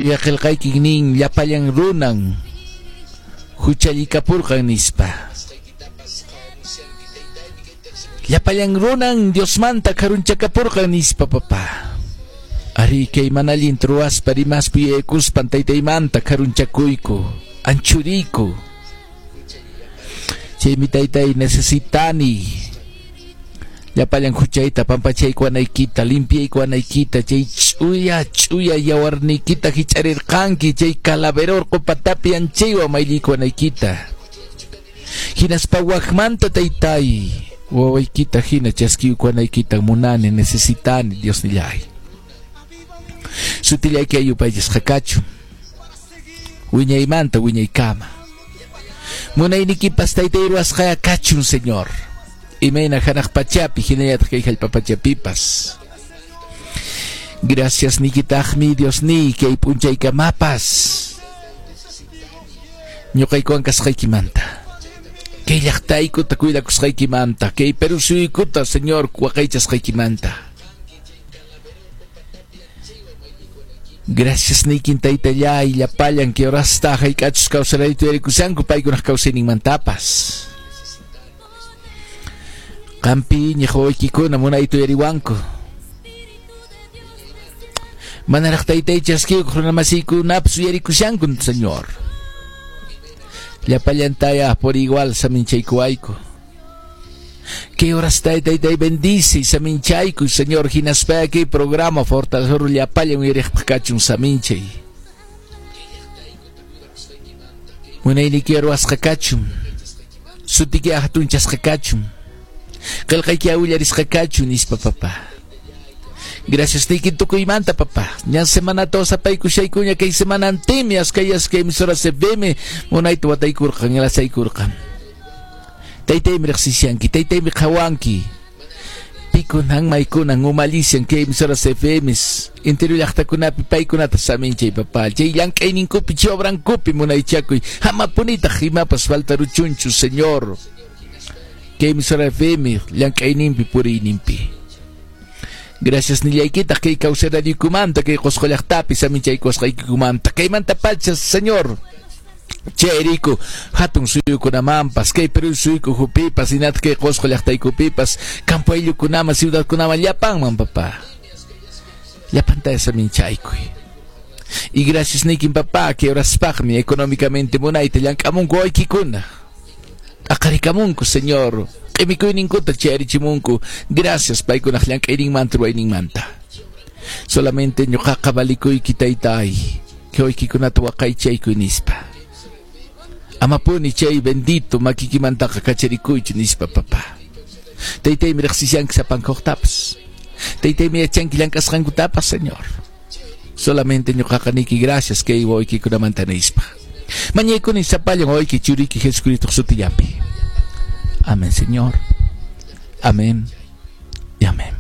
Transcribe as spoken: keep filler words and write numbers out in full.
Ch'uya qillqaykin nin llapallan runan huchallikapurqan nispa. Llapallan runan Diosmanta karunchakapurqan nispa, papá. Ari kay mana allin ruwaspa rimaspa yuyaykuspan taytaymanta karunchakuyku, anchuriyku. Chaymi taytay necesitani llapallan huchayta pampachaykuwanaykita, limpiaykuwanaykita, chay ch'uya ch'uya yawarniykita hich'arirqanki, chay calavera urqu patapi anchaywan mayllikuwanaykita. Hinaspa wakmanta taytay wawaykita hina chaskiykuwanaykita munani, necesitani, Diosnillay. Sutillayki ayupaychasqa kachun wiñaymanta wiñaykama. Munaynikipas taytay ruwasqaya kachun, Señor. Imayna hanaq pachapi hinallataq kay hallp'a pachapipas. Gracias nikitaqmi Diosniy kay p'unchaykamapas ñuqaykuwan kasqaykimanta, kay llaqtaykuta cuidakusqaykimanta, kay Perú suyukuta, Señor, waqaychasqaykimanta. Gracias niykin taytallay llapallan kay horasta hayk'achus kawsarayta yuyarikushanku paykunaq kawsayninmantapas. Qampi iñiq wawaykikuna munayta uyariwanku. Manaraq taytay chaskiykuq runamasiykunapas uyarikushanku, Señor. Llapallantaya por igual saminchaykuwayku. Kay horasta taytay bendice saminchayku, Señor, hinaspa kay programa fortalecer llapallan uyariqpaq kachun saminchay. Munayniki ruwasqa kachun, sutiki hatunchasqa kachun, qillqayki awillarisqa kachun nispa, papá. Gracias niyki tukuymanta, papá. Ñan semanata osapaykushaykuña kay semanantimi askay askay emisora C B M munayta wataykurqan, lasaykurqan. Taytaymi riqsishanki, taytaymi qhawanki. Pikunan maykunan umallishan kay emisora C F M interior llaqtakunapi paykunata saminchay, papá. Chay llank'ayninkupi, chay obrankupi munaychakuy. Hamapunitaq imapas faltaruchunchu, Señor. Kay emisora F M llank'ayninpi puriyninpi. Gracias nillaykitaq kay kawsaraykumanta, kay Qosqo llaqtapi saminchaykusqaykikumanta. Kaymanta pacha, Señor. Chayriku hatun suyukunamanpas, kay Perú suyuku hupipas, hinataq kay Qosqo llaqtaykupipas, campo ayllukunaman, ciudadkunaman, llapanman, papá. Llapanta saminchaykuy. Y gracias niykin, papá, que horaspaqmi económicamente munayta llank'amunku waykikuna. Aqarikamunku, Señor. Q'imikuyninkuta chayarichimunku. Gracias paykunaq llank'ayninmanta ruwayninmanta. Solamente ñuqaqa valikuyki taytay, kay waykikunata waqaychaykuy nispa. Amapuni chay bendito makikimantaqa kacharikuychu nispa, papá. Taytaymi riqsishanki sapankuqtapas. Taytaymi yachanki llank'asqankutapas, Señor. Solamente ñuqaqa niyki gracias kay wawaykikunamanta nispa. Mañaykuni sapallan wawayki churiyki Jesucristo sutillapi. Amén, Señor. Amén y amén.